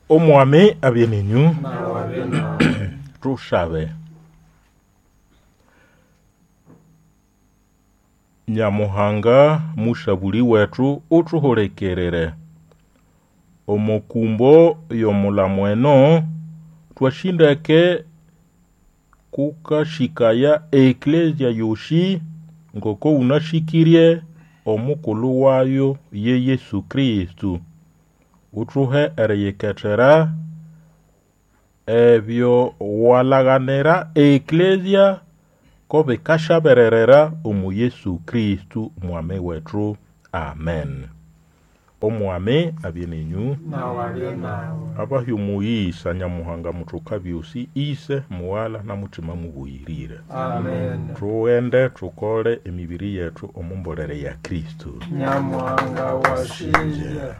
Omwami abye nenyũ. Nawe abye nawe. Tushabe. Nyamuhanga musabuli wethu uthuhulikirire. Omo kumbo y'omulamo eno twasindeke kukashikaya eklezia yosi ngoko ũnasĩkĩrye omukulu wayo ye Yesu Kristo. Uthuhe eriyiketera ebyo walaganira eklezia ko bikasyabererera omu Yesu Kristo mwami wethu. Amen. Omwami abye nenyũ. Nawe abye nawe. Abahe omuyisa Nyamuhanga muthuka byosi, Ise, Mughala na Mutima mubuyirire. Amen. Tughende thukole emibiri yethu omu mbolere ya Kristo. Nyamuhanga washinja.